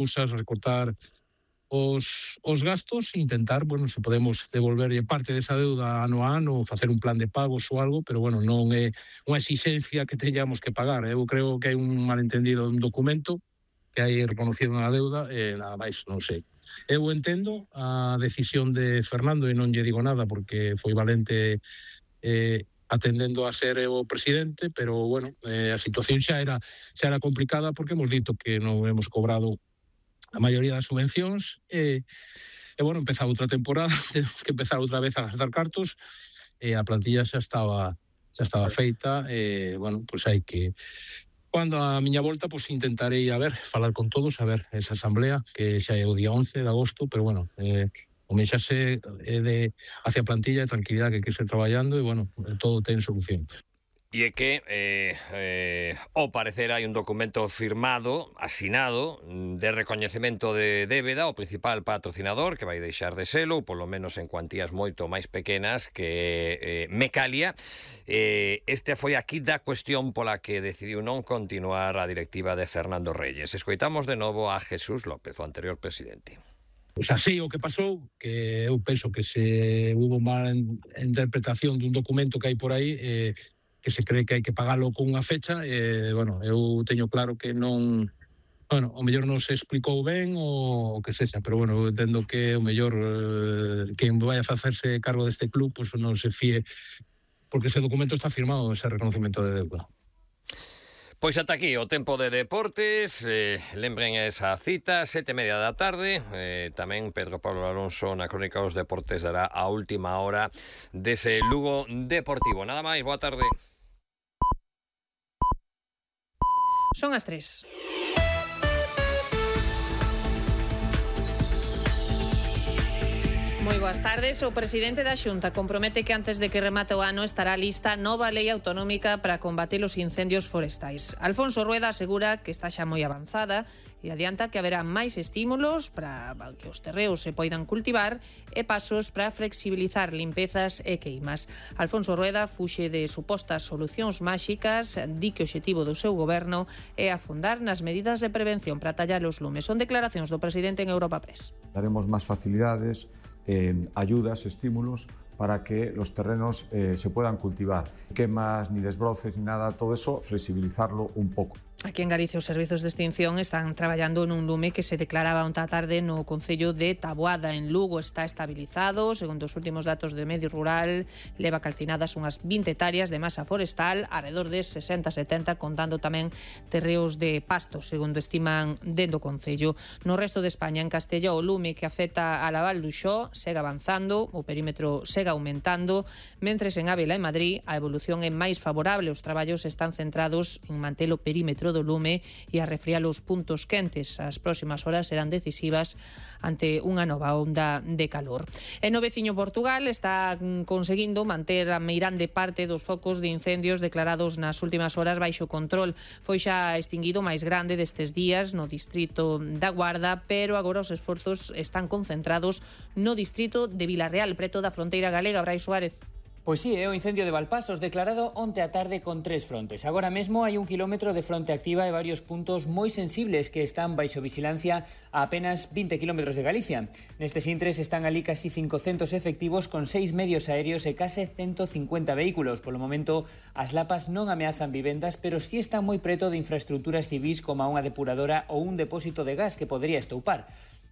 cousas, recortar os gastos e intentar, se podemos devolverlle parte desa deuda ano a ano, facer un plan de pagos ou algo, pero, non é unha exixencia que teñamos que pagar. Eu creo que hai un malentendido un documento que hai reconocido na deuda e nada máis, non sei. Eu entendo a decisión de Fernando e non lle digo nada porque foi valente atendendo a ser o presidente, pero, a situación xa era complicada porque hemos dito que non hemos cobrado a maioría das subvencións empezaba outra temporada, temos que empezar outra vez a gastar cartos e a plantilla xa estaba feita hai que... Cando a miña volta, intentarei, falar con todos, esa asamblea, que xa é o día 11 de agosto, pero, o mensaxe hacia a plantilla de tranquilidade que quese traballando e, todo ten solución. E é que, ao parecer, hai un documento firmado, asinado, de recoñecemento de débeda, o principal patrocinador, que vai deixar de selo, polo menos en cuantías moito máis pequenas que Mecalia. Este foi aquí da cuestión pola que decidiu non continuar a directiva de Fernando Reyes. Escoitamos de novo a Jesús López, o anterior presidente. Pois así o que pasou, que eu penso que se hubo mala interpretación dun documento que hai por aí, que se cree que hai que pagalo con unha fecha, eu teño claro que non, o mellor non se explicou ben o que sexa, pero eu entendo que o mellor quen vai a facerse cargo deste club non se fíe, porque ese documento está firmado, ese reconocimiento de deuda. Pois ata aquí o tempo de deportes. Lembren esa cita, 7:30 da tarde. Tamén Pedro Pablo Alonso na Crónica dos Deportes dará a última hora dese Lugo Deportivo. Nada máis, boa tarde. Son as 3. Moi boas tardes. O presidente da Xunta compromete que antes de que remate o ano estará lista nova lei autonómica para combater os incendios forestais. Alfonso Rueda asegura que está xa moi avanzada e adianta que haberá máis estímulos para que os terreos se poidan cultivar e pasos para flexibilizar limpezas e queimas. Alfonso Rueda fuxe de supostas solucións máxicas, di que o obxectivo do seu goberno é afondar nas medidas de prevención para tallar os lumes. Son declaracións do presidente en Europa Press. Daremos máis facilidades, ayudas, estímulos para que los terrenos se puedan cultivar. Quemas, ni desbroces, ni nada, todo eso, flexibilizarlo un poco. Aquí en Galicia os servizos de extinción están traballando nun lume que se declaraba onta tarde no concello de Taboada. En Lugo está estabilizado, segundo os últimos datos de Medio Rural, leva calcinadas unhas 20 hectáreas de masa forestal, alrededor de 60-70, contando tamén terreos de pasto, segundo estiman dentro do concello. No resto de España, en Castella, o lume que afecta a Laval do Xó segue avanzando, o perímetro segue aumentando, mentres en Ávila e Madrid a evolución é máis favorable. Os traballos están centrados en manter o perímetro do lume e a refriar os puntos quentes. As próximas horas serán decisivas ante unha nova onda de calor. E no veciño Portugal está conseguindo manter a meirande parte dos focos de incendios declarados nas últimas horas baixo control. Foi xa extinguido máis grande destes días no distrito da Guarda, pero agora os esforzos están concentrados no distrito de Vilarreal, preto da fronteira galega. Brais Suárez. Pois sí, é o incendio de Valpasos declarado onte a tarde con 3 frontes. Agora mesmo hai 1 kilómetro de fronte activa e varios puntos moi sensibles que están baixo vigilancia a apenas 20 kilómetros de Galicia. Nestes intres están ali casi 500 efectivos con 6 medios aéreos e case 150 vehículos. Polo momento, as lapas non ameazan vivendas, pero sí están moi preto de infraestructuras civís como unha depuradora ou un depósito de gas que podría estoupar.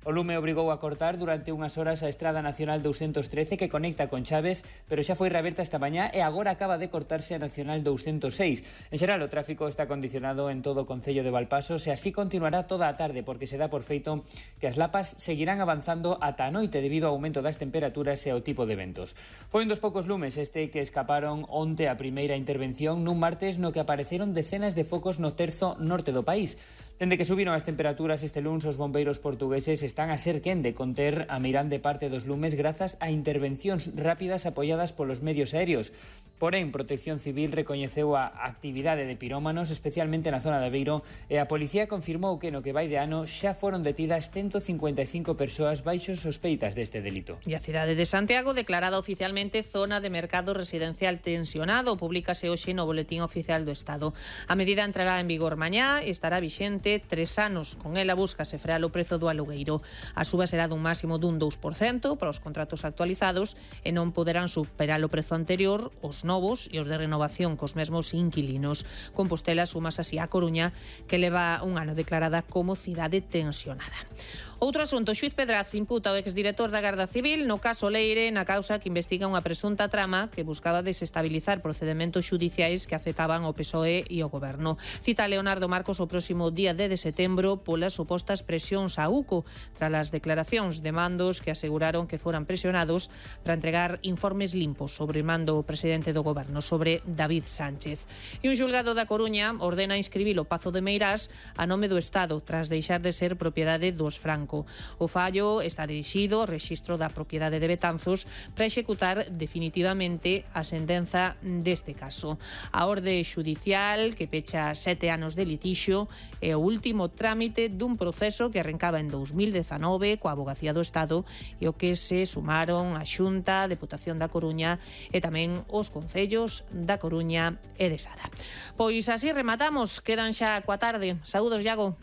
O lume obrigou a cortar durante unhas horas a Estrada Nacional 213 que conecta con Chaves, pero xa foi reaberta esta mañá e agora acaba de cortarse a Nacional 206. En xeral, o tráfico está condicionado en todo o concello de Valpasos e así continuará toda a tarde, porque se dá por feito que as lapas seguirán avanzando ata a noite debido ao aumento das temperaturas e ao tipo de ventos. Foi un dos poucos lumes este que escaparon onte a primeira intervención nun martes no que apareceron decenas de focos no terzo norte do país. Dende que subiron as temperaturas este luns, os bombeiros portugueses están a ser quen de conter a meirande parte dos lumes grazas a intervencións rápidas apoiadas polos medios aéreos. Porén, Protección Civil recoñeceu a actividade de pirómanos, especialmente na zona de Aveiro, e a policía confirmou que no que vai de ano xa foron detidas 155 persoas baixo sospeitas deste delito. E a cidade de Santiago declarada oficialmente zona de mercado residencial tensionado. Publícase hoxe no Boletín Oficial do Estado. A medida entrará en vigor mañá e estará vixente 3 anos. Con ela búscase frear o prezo do alugueiro. A suba será dun máximo dun 2% para os contratos actualizados e non poderán superar o prezo anterior os novos e os de renovación cos mesmos inquilinos. Compostela sumas así a Coruña, que leva un ano declarada como cidade tensionada. Outro asunto, xuiz Pedraz imputa ao exdirector da Garda Civil no caso Leire na causa que investiga unha presunta trama que buscaba desestabilizar procedementos xudiciais que afectaban ao PSOE e ao goberno. Cita Leonardo Marcos o próximo día 10 de setembro polas supostas presións a UCO tras as declaracións de mandos que aseguraron que foran presionados para entregar informes limpos sobre o mando do presidente do goberno, sobre David Sánchez. E un xulgado da Coruña ordena inscribir o Pazo de Meirás a nome do Estado tras deixar de ser propiedade dos Franco. O fallo está dirixido ao rexistro da propiedade de Betanzos para executar definitivamente a sentenza deste caso. A orde xudicial que pecha 7 anos de litixio é o último trámite dun proceso que arrancaba en 2019 coa Avogacía do Estado e o que se sumaron a Xunta, a Deputación da Coruña e tamén os concellos da Coruña e de Sada. Pois así rematamos, quedan xa coa tarde. Saúdos, Iago.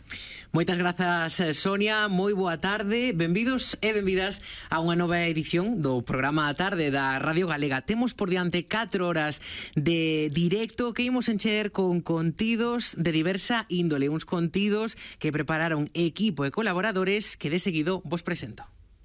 Moitas grazas, Sonia, moi boa tarde, benvidos e benvidas a unha nova edición do programa A Tarde da Radio Galega. Temos por diante 4 horas de directo que imos encher con contidos de diversa índole, uns contidos que prepararon equipo e colaboradores que de seguido vos presento.